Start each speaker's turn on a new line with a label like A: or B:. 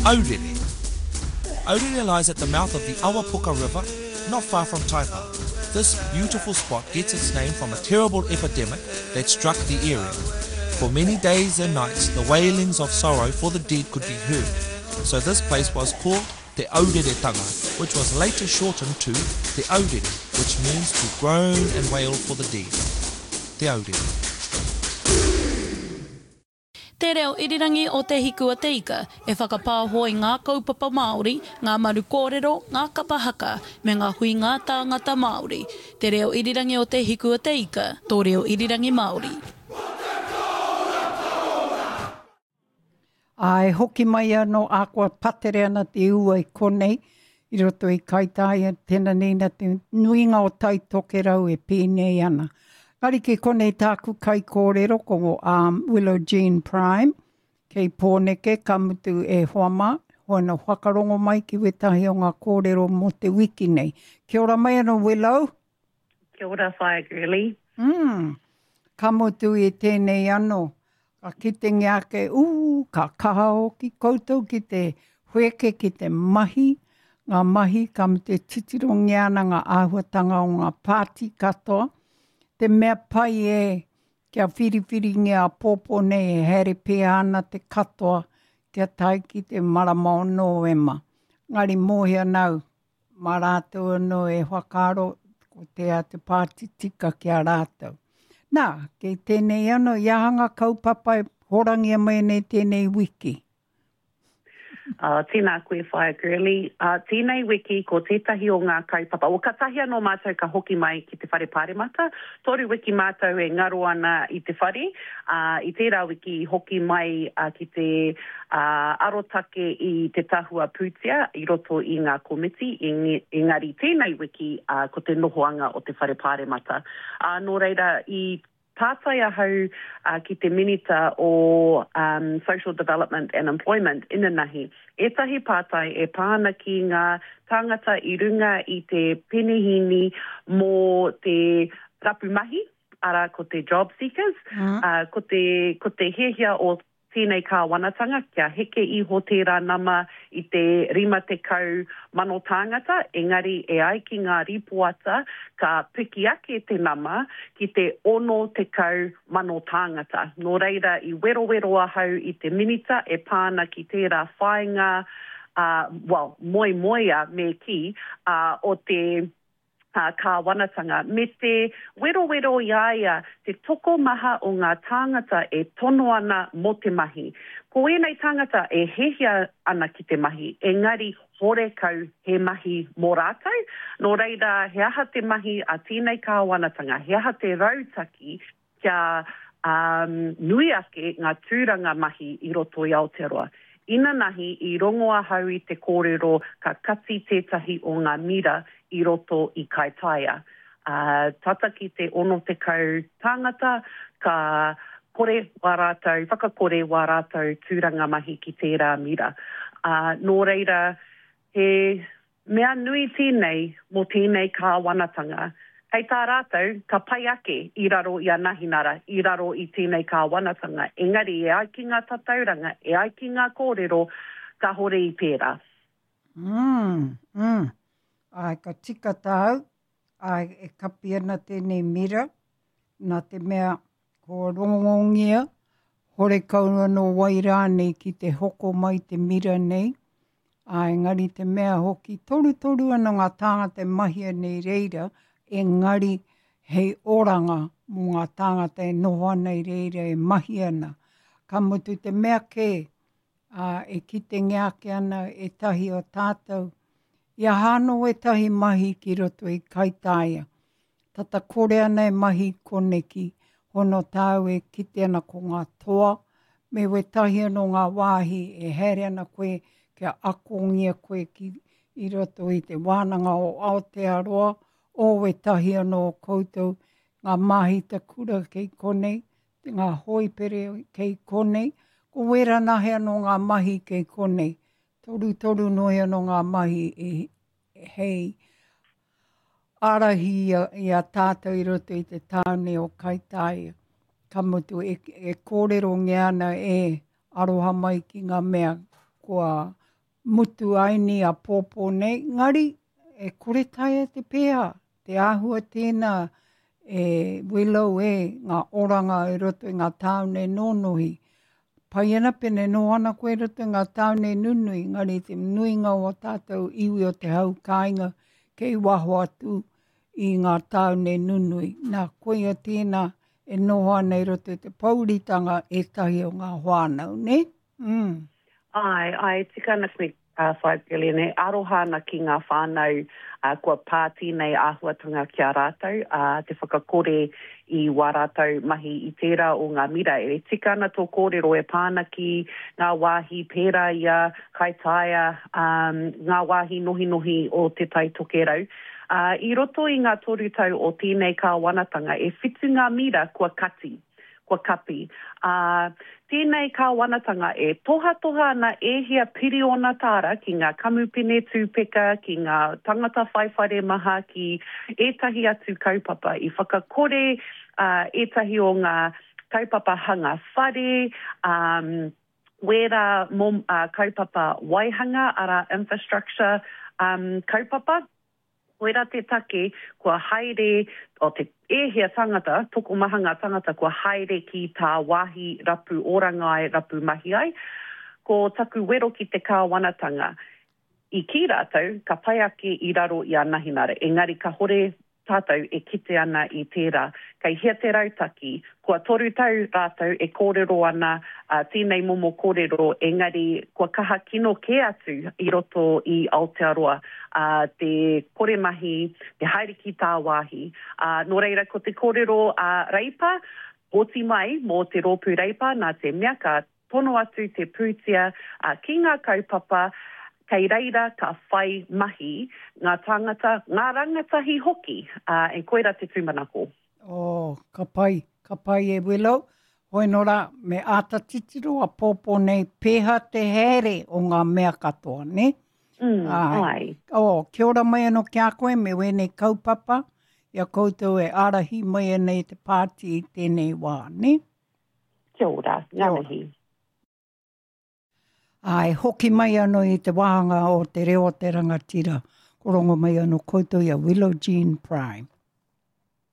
A: Aurere. Aurere lies at the mouth of the Awapuka River, not far from Taipa. This beautiful spot gets its name from a terrible epidemic that struck the area. For many days and nights, the wailings of sorrow for the dead could be heard. So this place was called Te Aureretanga, which was later shortened to Te Aurere, which means to groan and wail for the dead. Te Aurere.
B: Te Reo Irirangi o Te Hiku a Te Ika e whakapāho i ngā kaupapa Māori, ngā maru kōrero, ngā kapa haka, me ngā huinga tāngata Māori. Te Reo Irirangi o Te Hiku a Te Ika, tō reo irirangi Māori.
C: Ā, e hoki mai anō, ahakoa patere ana te ua i konei, i roto i Kaitāia, tēnā nei nā te nuinga o Tai Tokerau e pēnei ana. Engari ki konei tāku kaikōrero ko um, Willow Jean Prime, kei Pōneke, ka mutu e hoa mā, hoana whakarongo mai ki wētahi o ngā kōrero mō te wiki nei. Kia ora mai anō, Willow.
D: Kia ora, Whaea Girlie.
C: Mm. Ka mutu i tēnei anō, ka kitengia ake, ū, ka kaha hoki koutou ki te wheke, ki te mahi, ngā mahi, ka mutu e titirongia ana ngā āhuatanga o ngā pāti katoa. Te mea pai e, kia whiriwhiringia āpōpō nei e haere pēhea ana te katoa kia tae ki te marama o Nōema. Engari mōhio ana au, mā rātou anō e whakaaro ko tēa te pāti tika ki a rātou. Nā, kei tēnei anō, i aha ngā kaupapa e horangia mai nei tēnei wiki?
D: Uh, tēnā koe Whaea Girlie. Uh, tēnei wiki ko tētahi o ngā kaupapa, well, katahi anō mātou ka hoki mai ki te whare pāremata. Toru wiki mātou e ngaro ana i te whare. Uh, i tērā wiki i hoki mai uh, ki te ā, arotake i te tahua pūtea i roto i ngā komiti, engari tēnei wiki, ā, ko te nohoanga o te Whare Pāremata. Ā, nō reira, i pātai ahau, ā, ki te Minita o Social Development and Employment inanahi, ētahi pātai e pā ana ki ngā tāngata i runga i te penehīni mō te rapu mahi, arā, ko te job seekers, ā, ko te, ko te hiahia o tēnei kāwanatanga kia heke iho tērā nama i te 50,000 tāngata, engari e ai ki ngā rīpoata ka piki ake te nama ki te 60,000 tāngata. Nō reira i werowero ahau i te Minita e pā ana ki tērā whāinga, ā, well, moemoea me kī, ā, o te kāwanatanga, me te werowero i a ia te tokomaha o ngā tāngata e tono ana mō te mahi. Ko ēnei tāngata e hiahia ana ki te mahi, engari horekau he mahi mō rātou. Nō reira, he aha te mahi a tēnei kāwanatanga, he aha te rautaki kia nui ake ngā tūranga mahi i roto i Aotearoa. Inanahi i rongo ahau i te kōrero ka kati tētahi o ngā mira i roto i Kaitaia. Tata ki te 60 tāngata ka kore wā rātou, whakakore wā rātou tūranga mahi ki tērā mira. Nō reira, he Mea nui tēnei mō tēnei kāwanatanga. Hei tā rātou, ka pai ake i raro i a Nahinara, i raro i tēnei kāwanatanga, engari e ai ki ngā tatauranga, e ai ki ngā kōrero, kāhore i pērā.
C: Mm, mm. Āe, ka tika tāu, āe, e kapi ana tēnei mira, nā te mea kua rongongia, horekau anō wai rānei ki te hoko mai te mira nei, Ā, engari te mea hoki, torutoru ana ngā tāngata e mahia nei reira, engari hei oranga mō ngā tāngata e noho ana i reira e mahi ana. Ka mutu te mea kē, ā, e kitengia ake ana ētahi o tātou, i aha anō ētahi mahi ki roto i Kaitāia. Tata kore ana e mahi koneki, hono tāu e kite ana ko ngā toa, me wētahi anō ngā wāhi e haere ana koe kia akongia koe ki i roto i te wānanga o Aotearoa, o wētahi anō o koutou, ngā māhita kura kei konei, ngā hōipere kei konei, ko wērā nahe anō ngā mahi kei konei. Torutoru noa anō ngā mahi e, hei ārahi i a, i a tātou i roto i te tāone o Kaitāia. Ka mutu, e, e kōrerongia ana e aroha mai ki ngā mea kua mutu aini āpōpō nei, ngari e kore taea te pēhā, te āhua tēnā e Willow e ngā oranga i roto i ngā tāone nōnohi. Pai ana pene noho ana koe i roto i ngā tāone nunui, ngari te nuinga o a tātou iwi o te hau kāinga kei waho atu i ngā tāone nunui. Nā, koia tēnā e noho ana i roto i te pouritanga ētahi o ngā whānau, nē? Mm.
D: Āe, āe, tika ana koe, uh, 5 billion, e aroha ana ki ngā whānau uh, kua pā tēnei āhuatanga ki a rātou, uh, te whakakore i wā rātou mahi i tērā o ngā mira. E tika ana tō kōrero e pā ana ki ngā wāhi pērā i a Kaitaia, um, ngā wāhi nohinohi o Te Tai Tokerau. Ā, i roto i ngā toru tau o tēnei kāwanatanga, e whitu ngā mira kua kati, kua kapi. Ā, tēnei kāwanatanga e tohatoha ana e hia piriona tāra ki ngā kamupene tūpeka, ki ngā tangata whai whare maha, ki ētahi atu kaupapa. I whakakore, ā, ētahi o ngā kaupapa hanga whare, ā, wērā mō, ā, kaupapa waihanga, arā, infrastructure, um, kaupapa. Koirā te take kua haere, o te, e hia tangata, tokomaha ngā tangata kua haere ki tāwāhi rapu oranga ai, rapu mahi ai. Ko taku wero ki te kāwanatanga, i kī rātou ka pai ake i raro i a Nahinara, engari kahore tātou e kite ana i tērā. Kei hea te rautaki? Kua toru tau rātou e kōrero ana tēnei momo kōrero, engari kua kaha kino kē atu i roto i Aotearoa te kore mahi, te haere ki tāwāhi. Nō reira, ko te kōrero a Reipa, pōti mai mō te rōpū Reipa nā te mea ka Tono atu te pūtea ki ngā kaupapa kei reira ka whai mahi ngā tāngata, ngā rangatahi hoki, ā, and koirā te tūmanako.
C: Oh, ka pai, ka pai e Willow. Hoi nō rā, me āta titiro a pōpō nei, pēhā te haere o ngā mea katoa, nē?
D: Mm, ai.
C: Oh, kia ora mai anō ki a koe me wēnei kaupapa, i a koutou e ārahi mai ana i te pāti i tēnei wā, nē?
D: Kia ora, ngā mihi.
C: Āe, hoki mai anō i te wāhanga o Te Reo o te Rangatira, ko rongo mai anō koutou i a Willow Jean Prime.